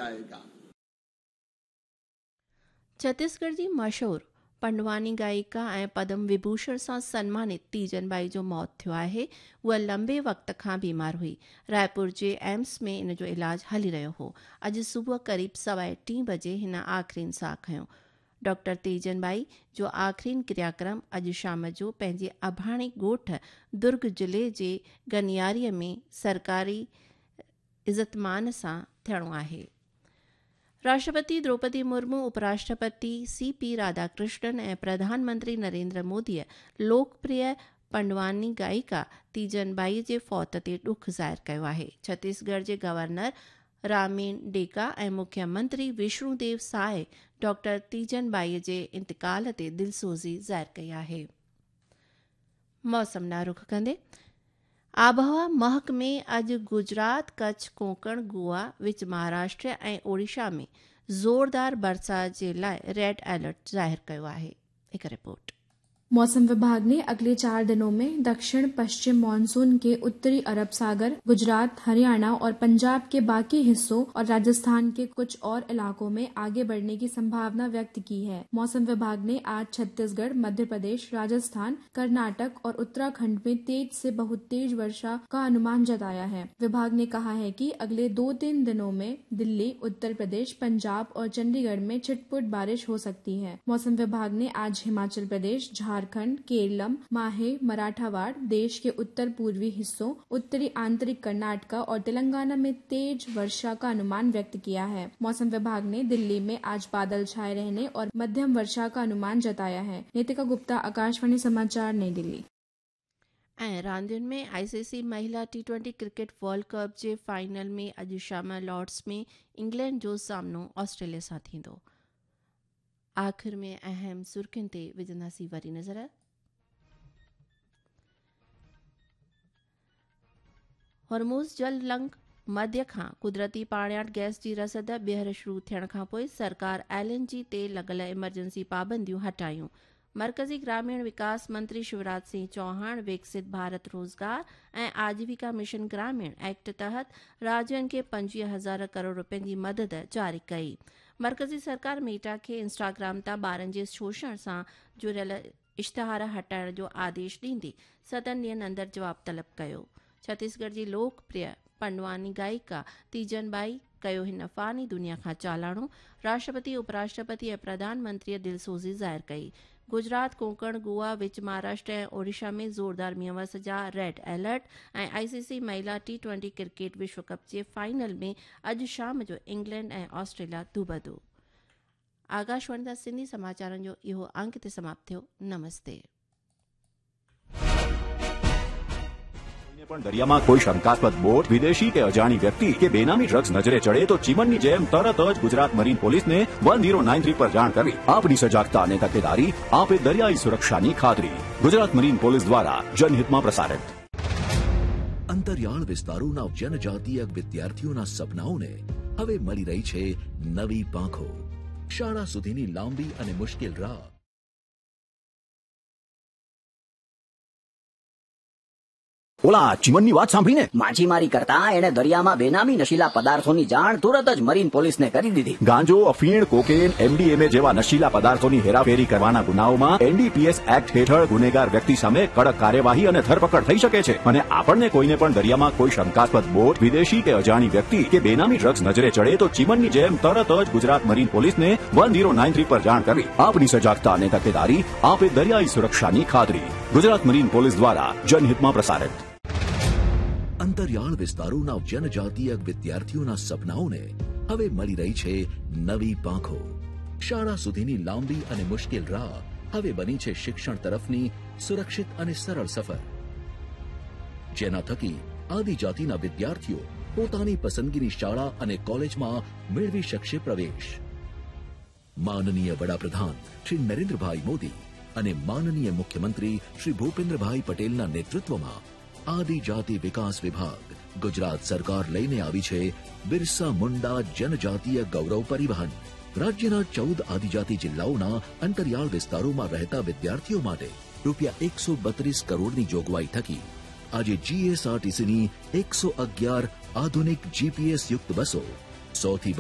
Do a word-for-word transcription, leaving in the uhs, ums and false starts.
जाएगा। छत्तीसगढ़ जी मशहूर पंडवानी गायिका ऐं पद्म विभूषण सां सन्मानित तीजन बाई जो मौत थियो आहे। उहा लंबे वक़्त खां बीमार हुई। रायपुर जे एम्स में इन जो इलाज हली रहियो हो। अॼु सुबुह क़रीब सवा टी बजे हिन आख़िरीन साह खयो। डॉक्टर तीजन बाई जो आख़िरीन क्रियाक्रम अॼु शाम जो पंहिंजे अभाणे ॻोठ दुर्ग ज़िले जे गनियारीअ में सरकारी इज़तमान सां थियणो आहे। राष्ट्रपति द्रौपदी मुर्मू, उपराष्ट्रपति सी पी राधाकृष्णन ऐं प्रधानमंत्री नरेंद्र मोदीअ लोकप्रिय पंडवानी गायिका तीजन बाई जे फौत ते ॾुख ज़ाहिर कयो आहे। छत्तीसगढ़ जे गवर्नर रामेन डेका ऐं मुख्यमंत्री विष्णुदेव साय डॉक्टर तीजन बाई जे इंतकाल ते दिलसोज़ी ज़ाहिर कई आहे। मौसम ॾांहुं रुख कंदे आबहवा महकमे अॼु गुजरात, कच्छ, कोंकण, गोवा, विच महाराष्ट्र ऐं ओडिशा में ज़ोरदार बरसात जे लाइ रेड अलर्ट ज़ाहिर कयो आहे। हिकु रिपोर्ट। मौसम विभाग ने अगले चार दिनों में दक्षिण पश्चिम मानसून के उत्तरी अरब सागर, गुजरात, हरियाणा और पंजाब के बाकी हिस्सों और राजस्थान के कुछ और इलाकों में आगे बढ़ने की संभावना व्यक्त की है। मौसम विभाग ने आज छत्तीसगढ़, मध्य प्रदेश, राजस्थान, कर्नाटक और उत्तराखंड में तेज से बहुत तेज वर्षा का अनुमान जताया है। विभाग ने कहा है कि अगले दो तीन दिनों में दिल्ली, उत्तर प्रदेश, पंजाब और चंडीगढ़ में छिटपुट बारिश हो सकती है। मौसम विभाग ने आज हिमाचल प्रदेश, झारखंड, केरलम, माहे, मराठावाड़, देश के उत्तर पूर्वी हिस्सों, उत्तरी आंतरिक कर्नाटका और तेलंगाना में तेज वर्षा का अनुमान व्यक्त किया है। मौसम विभाग ने दिल्ली में आज बादल छाए रहने और मध्यम वर्षा का अनुमान जताया है। नितिका गुप्ता, आकाशवाणी समाचार, नई दिल्ली। ऐं रांदियुनि में आईसीसी महिला T twenty cricket world cup जे फाइनल में अॼु शाम लॉर्ड्स में इंग्लैंड जो सामनो ऑस्ट्रेलिया सां थींदो। आख़िर में अहम सुर्खियुनि ते विझंदासीं वरी नज़र। हॉर्मुज़ जल लंघ मध्य खां कुदरती पाणियाट गैस जी रसद ॿीहर शुरू थियण खां पोइ सरकार एल एन जी ते लॻल इमरजेंसी पाबंदियूं हटायूं। मरकज़ी ग्रामीण विकास मंत्री शिवराज सिंह चौहान विकसित भारत रोज़गार ऐं आजीविका मिशन ग्रामीण एक्ट तहत राज्यनि खे पंजवीह हज़ार करोड़ रुपयनि जी मदद जारी कई। मरकज़ी सरकार मेटा खे इंस्टाग्राम तां ॿारनि जे शोषण सां जुड़ियल इश्तहार हटाइण जो आदेश ॾींदी सतनि ॾींहंनि अंदरि जवाब तलब कयो। छत्तीसगढ़ जी लोकप्रिय पंडवानी गायिका तीजन बाई कयो हिन फ़ानी दुनिया खां चालाणो। राष्ट्रपति, उपराष्ट्रपति ऐं प्रधानमंत्रीअ दिलसोज़ी ज़ाहिर कई। गुजरात, कोंकण, गोवा, विच महाराष्ट्र ऐं ओडिशा में ज़ोरदार मींहं जा रेड अलर्ट ऐं आईसीसी महिला टी ट्वेंटी क्रिकेट विश्व कप जे फाइनल में अॼु शाम जो इंग्लैंड ऐं ऑस्ट्रेलिया दूबदू। आकाशवाणी तां सिंधी समाचारनि जो इहो अंक ते समाप्त थियो। नमस्ते। પણ દરિયામાં કોઈ શંકાસ્પદ બોટ, વિદેશી કે અજાણી વ્યક્તિ કે બેનામી ડ્રગ્સ નજરે ચડે તો ચીમનની જેમ તરત જ ગુજરાત મરીન પોલીસને વન ઝીરો નાઇન થ્રી પર જાણ કરવી. આપની સજાગતા અને તકેદારી આપે દરિયાઈ સુરક્ષાની ખાતરી. ગુજરાત મરીન પોલીસ દ્વારા જનહિતમાં પ્રસારિત. અંતરિયાળ વિસ્તારોના જનજાતીય વિદ્યાર્થીઓના સપનાઓને હવે મળી રહી છે નવી પાંખો. શાળા સુધીની લાંબી અને મુશ્કેલ રાહ ઓલા ચીમનની વાત સાંભળીને માછીમારી કરતા એણે દરિયામાં બેનામી નશીલા પદાર્થોની જાણ તુરત જ મરીન પોલીસને કરી દીધી. ગાંજો, અફીણ, કોકેન, એમડીએમએ જેવા નશીલા પદાર્થોની હેરાફેરી કરવાના ગુનાઓમાં એનડીપીએસ એક્ટ હેઠળ ગુનેગાર વ્યક્તિ સામે કડક કાર્યવાહી અને ધરપકડ થઈ શકે છે. અને આપણને કોઈને પણ દરિયામાં કોઈ શંકાસ્પદ બોટ, વિદેશી કે અજાણી વ્યક્તિ કે બેનામી ડ્રગ્સ નજરે ચડે તો ચીમનની જેમ તરત જ ગુજરાત મરીન પોલીસને વન ઝીરો નાઇન થ્રી પર જાણ કરવી. આપની સજાગતા અને તકેદારી આપે દરિયાઈ સુરક્ષાની ખાતરી. ગુજરાત મરીન પોલીસ દ્વારા જનહિતમાં પ્રસારિત. અંતરિયાળ વિસ્તારોના જનજાતીય વિદ્યાર્થીઓના સપનાઓને હવે મળી રહી છે નવી પાંખો. શાળા સુધીની લાંબી અને મુશ્કેલ રાહ હવે બની છે શિક્ષણ તરફની સુરક્ષિત અને સરળ સફર, જેના થકી આદિજાતિના વિદ્યાર્થીઓ પોતાની પસંદગીની શાળા અને કોલેજમાં મેળવી શકશે પ્રવેશ. માનનીય વડાપ્રધાન શ્રી નરેન્દ્રભાઈ મોદી અને માનનીય મુખ્યમંત્રી શ્રી ભૂપેન્દ્રભાઈ પટેલના નેતૃત્વમાં આદિજાતિ વિકાસ વિભાગ, ગુજરાત સરકાર લઈને આવી છે બિરસા મુંડા જનજાતીય ગૌરવ પરિવહન. રાજ્યના ચૌદ આદિજાતિ જિલ્લાઓના અંતરિયાળ વિસ્તારોમાં રહેતા વિદ્યાર્થીઓ માટે રૂપિયા એકસો બત્રીસ કરોડની જોગવાઈ થકી આજે જીએસઆરટીસીની એકસો અગિયાર આધુનિક જીપીએસ યુક્ત બસો, સૌથી